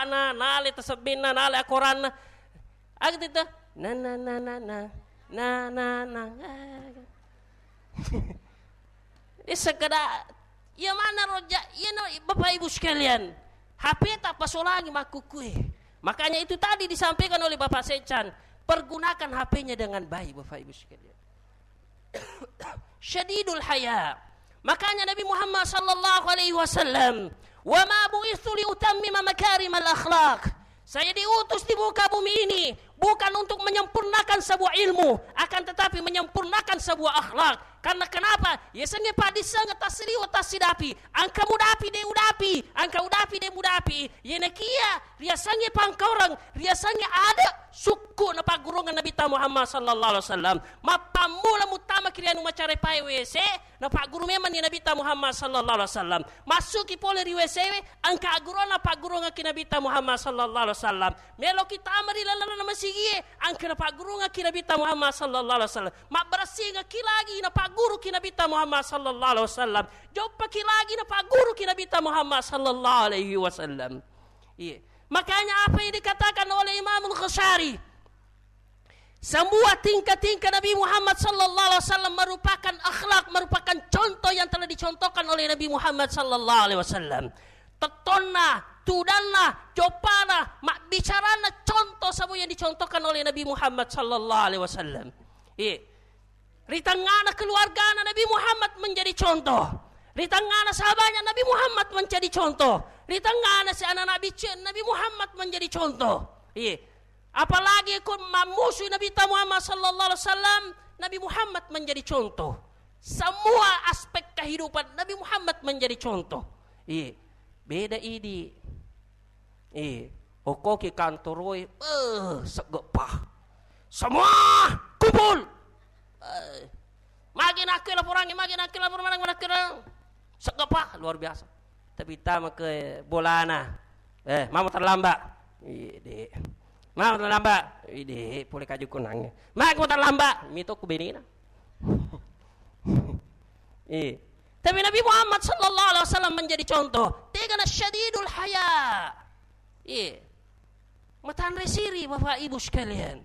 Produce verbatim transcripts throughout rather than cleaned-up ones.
Ana, nale tasebbenna, nale akoranna. Aga tita? Na, na, na, na, na. Na, na, na. Di sekedar, iya mana roja, iya no, Bapak Ibu sekalian. H P tak pasolangi makkukue. Makanya itu tadi disampaikan oleh Bapak Sechan, pergunakan H P-nya dengan baik, Bapak Ibu sekalian. Syadidul haya. Makanya Nabi Muhammad sallallahu alaihi wasallam, "Wa ma bu'itsu li utammima makarimal akhlaq." Saya diutus di muka bumi ini bukan untuk menyempurnakan sebuah ilmu, akan tetapi menyempurnakan sebuah akhlak. Karena kenapa? Yasengnge paddissengeng tassiliweng tassidapi, engka mudapi de' udapi, engka udapi de' mudapi. Yenekiya riasengnge pangkaureng, riasengnge ade' sukku' napaggurungeng Nabitta Muhammad sallallahu alaihi wasallam. Mappammula muttamaki ri anu macarepae W C, napagguru memanni Nabitta Muhammad sallallahu alaihi wasallam. Massuki pole ri W C we, engka aggurunna paggurungekki Nabitta Muhammad sallallahu alaihi wasallam. Meloki tama ri lalenna masigie, engka napaggurungekki Nabitta Muhammad sallallahu alaihi wasallam. Mabbaressingekki lagi napagguruki Nabitta Muhammad sallallahu alaihi wasallam. Joppaki lagi napagguruki Nabitta Muhammad sallallahu alaihi wasallam. Iya. Makanya apa yang dikatakan oleh Imamul Ghazali, semua tingkah-tingkah Nabi Muhammad sallallahu alaihi wasallam merupakan akhlak, merupakan contoh yang telah dicontohkan oleh Nabi Muhammad sallallahu alaihi wasallam. Tettonna, tudanna, joppana, mabbicarana, contoh semua yang dicontohkan oleh Nabi Muhammad sallallahu alaihi wasallam. Iya. Ri tengngana keluargana Nabi Muhammad menjadi contoh. Ri tengngana sahabatnya Nabi Muhammad menjadi contoh. Ri tengngana si anak Nabi C-, Nabi Muhammad menjadi contoh. Iya. Apalagi ko mammusui Nabitta Muhammad sallallahu alaihi wasallam, Nabi Muhammad menjadi contoh. Semua aspek kehidupan Nabi Muhammad menjadi contoh. Iya. Beda idi. Eh, okkoki kantoroe, eh, seggepa. Semua kumpul. Eh, magi nakke laporangnge, magi nakke laporan, magi nakke seggepa, luar biasa. Tapi tama ke bolana. Eh, mama terlambat. Ide. Mama terlambat. Ide, pole kaju kunangnge. Magi terlambat. Mito ku benina. Eh. Tapi Nabi Muhammad sallallahu alaihi wasallam menjadi contoh. Tegana syadidul haya. Iya. Matanre siri, Bapak Ibu sekalian.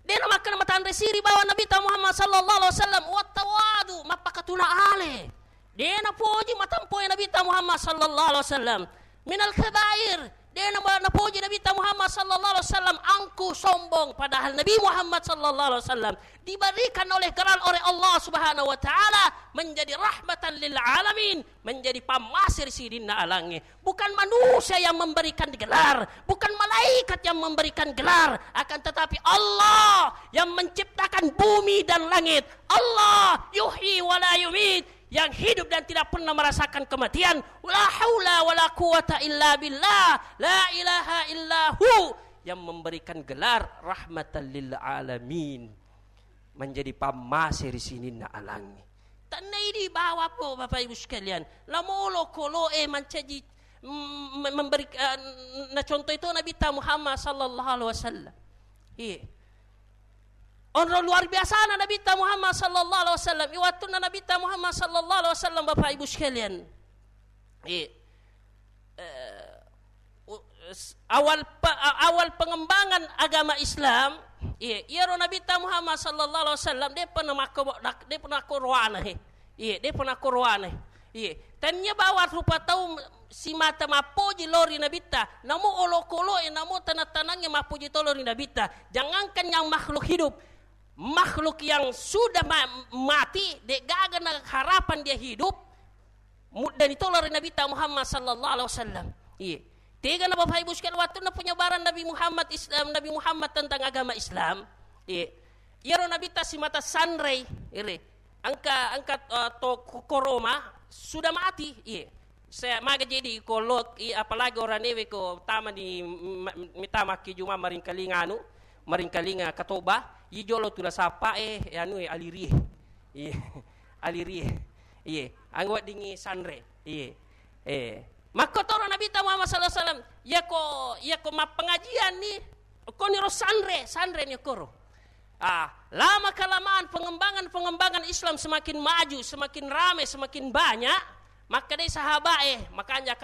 Dena makkana matanre siri bawa Nabitta Muhammad sallallahu alaihi wasallam, wattawadu, mappakatuna ale. Dena poji matampoe Nabitta Muhammad sallallahu alaihi wasallam. Minal kabair, dena ma-, napoji Nabitta Muhammad sallallahu alaihi wasallam angku sombong, padahal Nabi Muhammad sallallahu alaihi wasallam diberikan oleh gelar oleh Allah Subhanahu wa taala menjadi rahmatan lil alamin, menjadi pammase ri sininna alangnge. Bukan manusia yang memberikan gelar, bukan malaikat yang memberikan gelar, akan tetapi Allah yang menciptakan bumi dan langit. Allah yuhyi wa la yumit, yang hidup dan tidak pernah merasakan kematian. La haula wa la quwata illa billah, la ilaha illahu, yang memberikan gelar rahmatan lil alamin. Menjadi pammase ri sininna alangnge. Tenna idi bawa po, Bapak Ibu sekalian. Lamo olokoloe mancaji, mm, mem-, memberi, eh, nacontoh itu Nabitta Muhammad sallallahu alaihi wasallam. Iya. Onro luar biasana Nabitta Muhammad sallallahu alaihi wasallam. Iwattunna Nabitta Muhammad sallallahu alaihi wasallam, Bapak Ibu sekalian. Iya. Eh, u-, s-, awal pe-, a-, awal pengembangan agama Islam, iya, iyaro Nabitta Muhammad sallallahu alaihi wasallam, de' pernah makko-, dak-, de' pernah koroana, he. Iya, de' pernah koroana, he. Iya. Tania bawa rupa tau simata mappoji lo ri Nabitta, namo olokoloe, namo tanang-tanangnge mappoji to lo ri Nabitta. Jangankan yang makhluk hidup, makhluk yang sudah ma-, mati, de' gaga na harapan dia hidup, muddani tolo ri Nabitta Muhammad sallallahu alaihi wasallam. Iya. Tegana Bapak Ibu sekalian, wattunna penyebaran Nabi Muhammad Islam, Nabi Muhammad tentang agama Islam. Iya. Iyaro Nabitta simata sanrei, ire. Engka, engka, eh, to ko-, koroma sudah mati. Iya. Saya maga jadi kolok, i-, apalagi oranewe ko tama di ma-, mitama ki juma maringkalinga anu, maringkalinga katoba, i jolo tu nasapa, eh, anu, eh, alirie. Iya. Alirie. Iya. Anggo weddingngi sanre. Iya. Eh. Makkotoro Nabitta Muhammad sallallahu alaihi wasallam. Yako, yako mappengajian ni, koniro sanre, sanre ni koro. Ah, lama kelamaan pengembangan-pengembangan Islam semakin maju, semakin rame, semakin banyak, makkedai sahabae, makanja